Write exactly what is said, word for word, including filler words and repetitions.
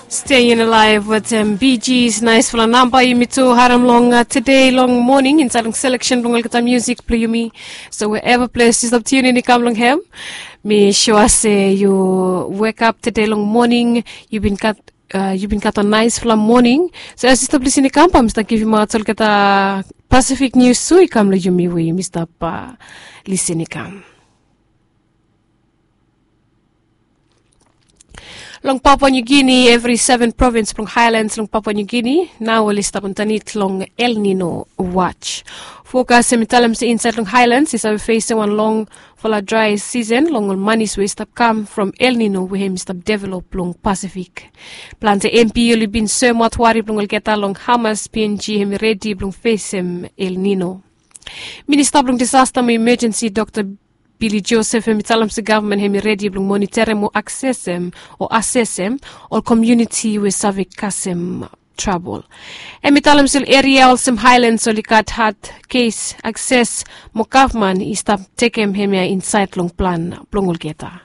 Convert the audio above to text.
Staying alive with um, B G's nice fala namba yumi tu harim long uh, today long morning inside long selection long olgeta music play yumi. So wherever place you stop tuning in come long him. Me sure say you wake up today long morning. You been got uh, you been got a nice fala morning. So as you stop listening come, I'm start giving out olgeta Pacific news sui come long yumi we yumi stop uh, listening come. Long Papua New Guinea, evri seven provins blong Highlands long Papua New Guinea nao oli stap antanit long El Nino watch. Fokas hem i talem se insaed long Highlands i save fesem wan longfala drae sisen long ol manis we i stap kam from El Nino we hem i stap develop long Pasifik. Plante M P oli bin soemaot wari blong olgeta long hamas P N G hem i redi blong fesem El Nino. Minista blong disasta mo imajensi Dr Billy Joseph hem i talem se gavman hem i redi blong moniterem o aksesem o asesem ol komuniti we save kasem trabol. Hem i talem se ol eria olsem Haelands oli gat had kes akses mo gavman i stap tekem hemia insaed long plan blong olgeta.